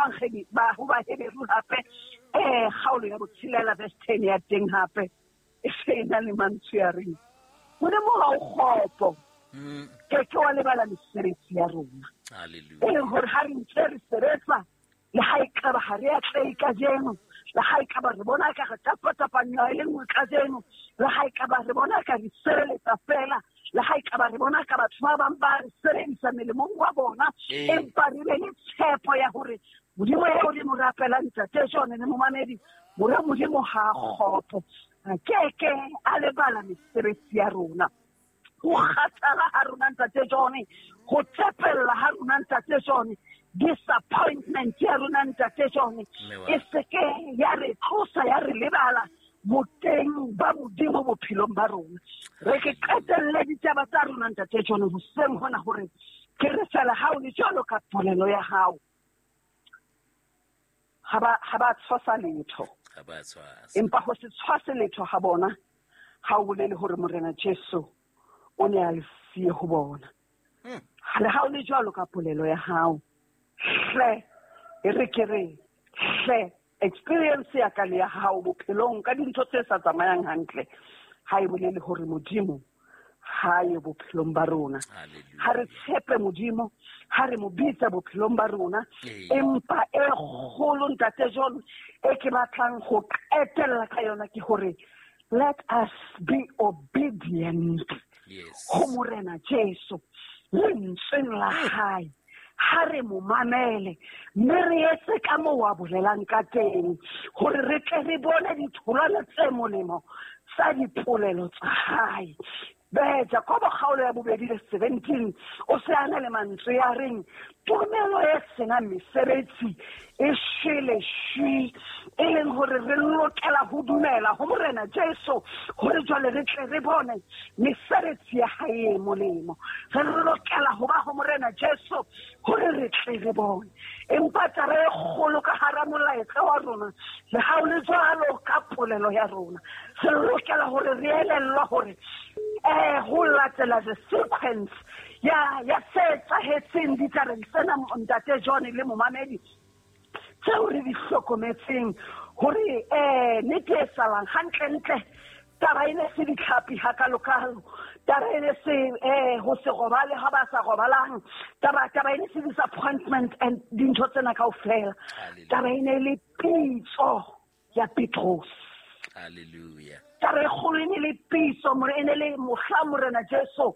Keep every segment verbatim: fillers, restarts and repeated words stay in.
Efangeli ba ho Baheberu hape eh kgaolo ya botshelela verse ten ya teng hape e se e na le mantswe a reng Modimo ha o kgopo, ke ke wa lebala mesebetsi ya rona. Hallelujah. E leng hore ha re ntse re sebetsa le ha ekaba ha re atlehe kajeno, le ha ekaba re bona ka re tapatapanywa e le nngwe kajeno, le ha ekaba re bona ka re sebeletsa fela, le ha ekaba re bona ka batho ba bang ba re sebedisa melemong wa bona, Ee. empa re be le tshepo ya hore Modimo eo re mo rapelang Ntate John le momamedi, hore Modimo ha a kgopo, a keke a lebala mesebetsi ya rona. Ho kgathala ha rona Ntate John, ho tepella ha rona Ntate John, disappointment ya rona Ntate John, Mme wa e seke ya re tlosa ya re lebala boteng ba Modimo bophelong ba rona. Re ke qetelle ditaba tsa rona Ntate John hoseng hona hore ke re fela ha o le jwalo ka polelo ya hao. Ha ba, ha ba tshwasa letho. Ha ba tshwasa. Empa ho se tshwase letho ha bona, ha o bolele hore Morena Jesu o ne a le siye ho bona. Hmm. Le ha o le jwalo ka polelo ya hao, hle, e re ke re, hle, experience ya ka le ya hao bophelong ka dintho tse sa tsamayang hantle, ha e bolele hore Modimo ha ye bophelong ba rona. Hallelujah. Ha re tshepe Modimo, ha re mo bitsa bophelong ba rona, Ee. empa e kgolo Ntate John e ke batlang ho qetella ka yona ke hore let us be obedient Yes. ho Morena Jesu lentsweng la hae. Ha re mo mamele mme re etse ka moo a bolelang ka teng hore re tle re bone ditholwana tse molemo tsa dipolelo tsa hae. Be Jakobo kgaolo ya bobedi le seventeen o se a na le mantswe a reng tumelo e senang mesebetsi e shwele shwi, e leng hore re lokela ho dumela ho Morena Jesu hore jwale re tle re bone mesebetsi ya hae e molemo. Re lokela ho ba ho Morena Jesu hore re tle re bone. Empa taba e kgolo ka hara molaetsa wa rona, le ha o le jwalo ka polelo ya rona, re lokela hore re elellwe hore eh ho latela the sequence ya, ya se etsahetseng ditabeng tsena Ntate John le momamedi, tseo re di hlokometseng hore eh nnete e salang hantlentle taba e ne se ditlhapi hakalokalo, taba e ne se eh ho se robale ha ba sa robalang, taba, taba e ne se disappointment and dintho tsena kaofela. Hallelujah. Taba e ne le pitso ya Petros. Hallelujah. Taba e kgolo e ne le pitso, more e ne le mohla Morena Jesu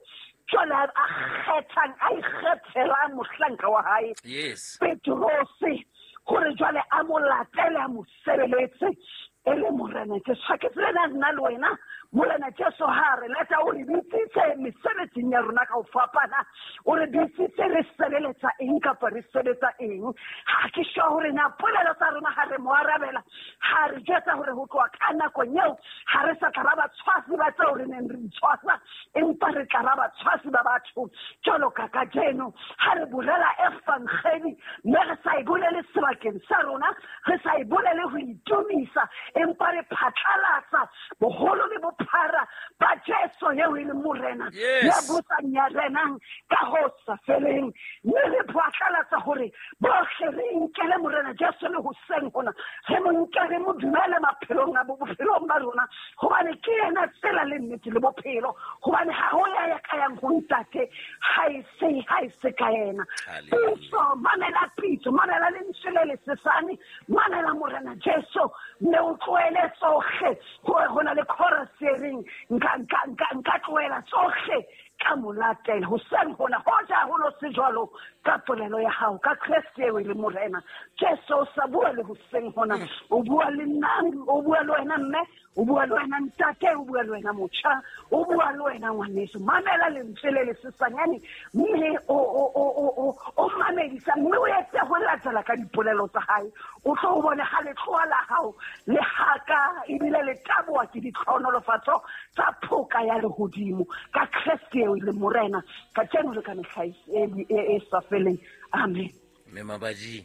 jwale a kgethang, a ikgethelang mohlanka wa hae. Yes. Petrose, hore jwale a mo latele, a mo sebeletse e le Morena Jesu. Ha ke tsebe na nna le wena, Morena Jesu ha re lata o re bitsitse mesebetsing ya rona ka ho fapana, o re bitsitse re sebeletsa eng kapa re sebetsa eng. Ha ke sure hore na polelo tsa rona ha re mo arabela, ha re jwetsa hore ho tloha ka nakong eo ha re sa tla ba batshwasi ba tseo re neng re itshwasa, empa re tla ba batshwasi ba batho jwalo ka kajeno. Ha re bolela evangeli, mme re sa e bolele sebakeng sa rona, re sa e bolele ho itumisa, empa re phatlalatsa boholo le bophara ba Jesu eo e leng Morena Yes. ya busang ya renang ka ho sa feleng. Mme re phatlalatsa hore bohle re nkele Morena Jesu le hoseng hona, re mo nke, re mo dumele maphelong a bo-, bophelong ba rona, hobane ke yena tsela le nnete le bophelo, hobane ha ho ya ya ka yang ho Ntate ha e se, ha e se ka yena. Hallelujah. Pitso, mamela pitso, mamela lentswe le lesesane, mamela Morena Jesu, mme o tlohele tsohle, hore ho na le chorus e reng, nka, nka, nka, nka tlohela tsohle ka mo latela. Hoseng hona, hoja ho no se jwalo ka polelo ya hao, ka Kreste eo e leng Morena Jesu, o sa bua le hoseng hona, o bua le nna, o bua le wena mme, o bua le wena ntate, o bua le wena motjha, o bua le wena ngwaneso. Mamela lentswe le lesesanyane, mme o, o, o, o, o, o mamedisa, mme o etse ho latela ka dipolelo tsa hae. O tlo o bone ha letloa la hao le haka ebile le taboha ke ditlhohonolofatso tsa phoka ya lehodimo ka Kreste eo e leng Morena kajeno le ka mehla e, e, e, e sa feleng. Amen. Mme Mabaji.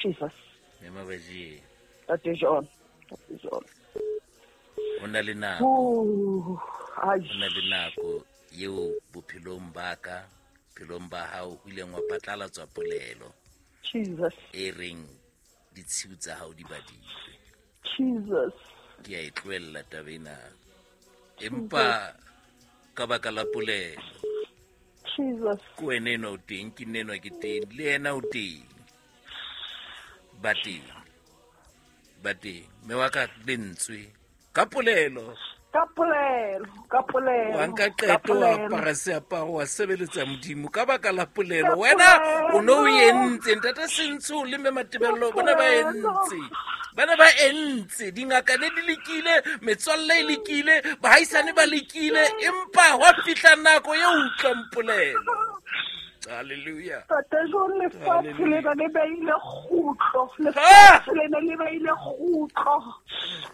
Jesus. Mme Mabaji. Ntate John. Ntate John. Ho na le nako. Oh, ai. Ho na le nako eo bophelong ba ka, bophelong ba hao, ho ileng wa phatlalatswa polelo. Jesus. E reng ditshiu tsa hao di badilwe. Jesus. Ke a e tlohella taba ena. Empa ka baka la polelo. Jesus. Ke wena enwa o teng, ke nna enwa ke teng, le yena o teng. Ba teng. Ba teng. Mme wa ka lentswe ka polelo. Ka polelo, ka polelo. Wa nka ka qeto, wa polelo. apara seaparo, wa sebeletsa Modimo ka baka la polelo. Ka Wena o no o polelo. entse, Ntate Sentsho le Mme Matebello Ka bona ba polelo. entse. Bana ba entse, dingaka ne di lekile, metswalle e lekile, bahaisane ba lekile, empa hwa fihla nako eo utlwang polelo. Hallelujah. Ntate John, lefatshe Hallelujah. lena le beile kgutlo. Ah! Lefatshe lena le beile kgutlo.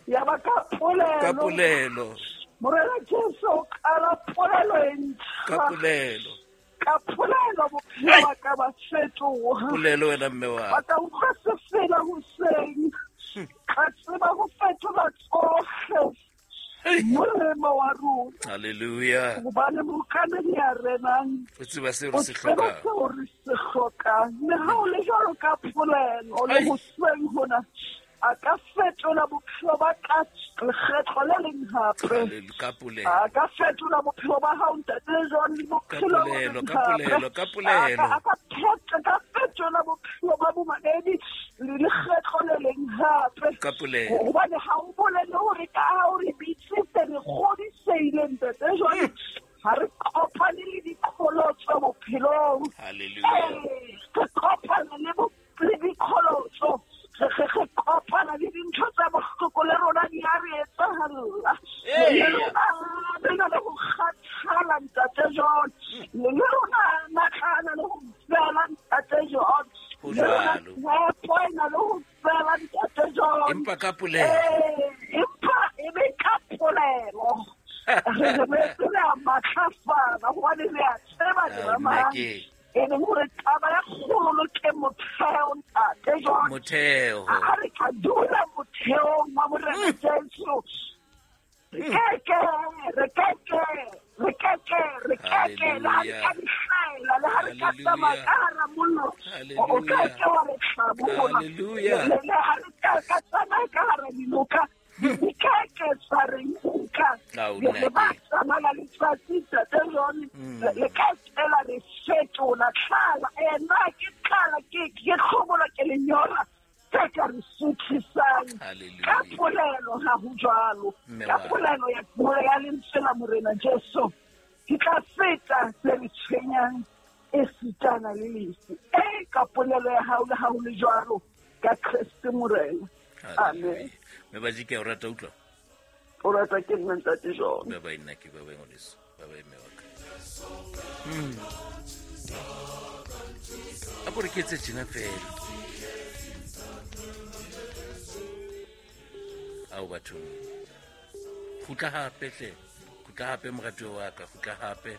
Ya ba ka polelo. Ka polelo. Morena Jesu o qala polelo e ntjha. Ka polelo. Ka polelo bophelo ba ka ba fetoha. Polelo wena mme wa. Ba ka utlwa sefela hoseng. Ka tseba ho fetola tsohle. Hey. Molemo wa rona. Hallelujah. Hobane mookamedi ya renang O tseba seo o re se tseba hlokang. seo re se hlokang. Le ha o le jwalo ka polelo le Ai. hoseng hona, a ka fetola bophelo ba ka lekgetlo le leng hape. Hallelujah. Ka polelo. A ka fetola bophelo ba hao Ntate John le Ka bophelo ba polelo, leng ka hape. polelo, ka polelo. A ka- a ka phetha- ka fetola bophelo ba bomamedi le lekgetlo le leng hape. Ka polelo. Hobane ha o bolele hore ka ha o re bitsitse re kgodisehile Ntate John, ha re kopane le diqholotso bophelong. Hallelujah. Ee, re kopana le bo- le diqholotso. Re re- re kopana le dintho tse bohloko le rona di a re etsahalla. Ee. Le rona re na le ho kgathala Ntate John. Le le rona matla a na le ho fela Ntate John. Ho Le rona jwalo. tshepo e na le ho fela Ntate John. Empa ka polelo. Ee, empa e be ka polelo. Re re boetse re a matlafala hobane re a tseba Ah, re mang. nna ke E leng hore taba ya kgolo ke motheo Ntate John. motheo. Ha re ka dula motheong wa Morena Jesu, re keke, re keke, re keke, re keke, le ha re ka dihlaela, le ha re ka tsamaya ka hara mollo, o keke wa re hlabola. Hallelujah. Le le ha re ka ka tsamaya ka hara dinoka, di keke tsa re nka. Ao, Le le ba nna ke. tsamaya letsatsi Ntate John, le le ka fela re fetola tlala. Eh, nna ke tlala, ke ke hlobola, ke lenyora, tse ka re suthisang. Ka Hallelujah. polelo ha ho jwalo. Mme Ka wa ka. polelo ya puo ya lentswe la Morena Jesu, ke tla feta se re tshwenyang esitana le lefu. E ka polelo ya hao le ha ho le jwalo, ka Kreste Morena. Amen. Hallelujah. Mme Baji, ke a o rata utlwa. O rata ke nna Ntate John. Bye bye nna ke, bye bye ngwaneso. Bye bye mme wa ka. Hmm. A ko re ke etse tjena fela. Ao bathong. Kgutla hape hle. Kgutla hape moratuwa wa ka, kgutla hape.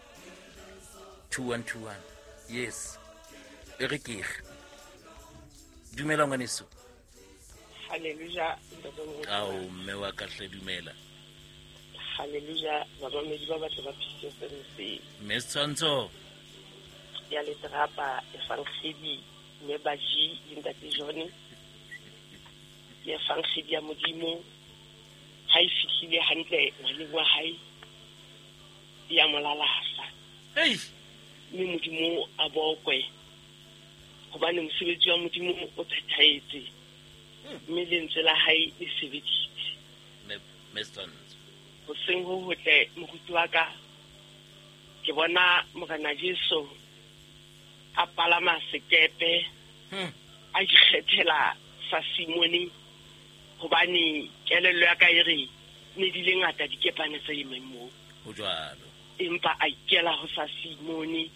two one two one. Yes. E re ke re. Dumela ngwaneso. Hallelujah, Ntate Moruti. Ao mme wa ka hle dumela. Hallelujah, bamamedi ba batle ba P C F M C. Mme Setshwantsho. Ya letrapa Evangeli mme Baji le Ntate John. Ke Evangeli ya Modimo. Ha e fihlile hantle ngwaneng wa hae, ya mo lalasa. Hey. Mme Modimo a bokwe. Hobane mosebetsi wa Modimo o phethahetse. Mme lentswe la hae le sebeditse. Mme, Mme Setshwantsho. Hoseng ho hotle moruti wa ka, ke bona Morena Jesu a palama sekepe, Hmm. a ikgethela sa Simone, hobane kelello ya ka e re ne di le ngata dikepane tse emeng moo. Ho jwalo. Empa a ikela ho sa Simone,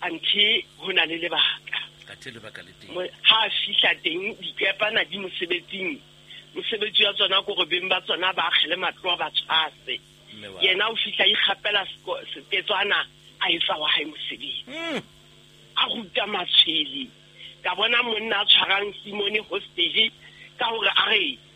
anthe ho na le lebaka. Athe lebaka le teng. Mo-, ha a fihla teng dikepana di mosebetsing. Mosebetsi wa tsona ke hore beng ba tsona ba akgele matlo a ba tshwase. Mme wa. Yena o fihla a ikgapela seko-, seketswana, a etsa wa hae mosebetsi. Hmm. A ruta matshwele. Ka bona monna a tshwarang Simone hostage ka hore a re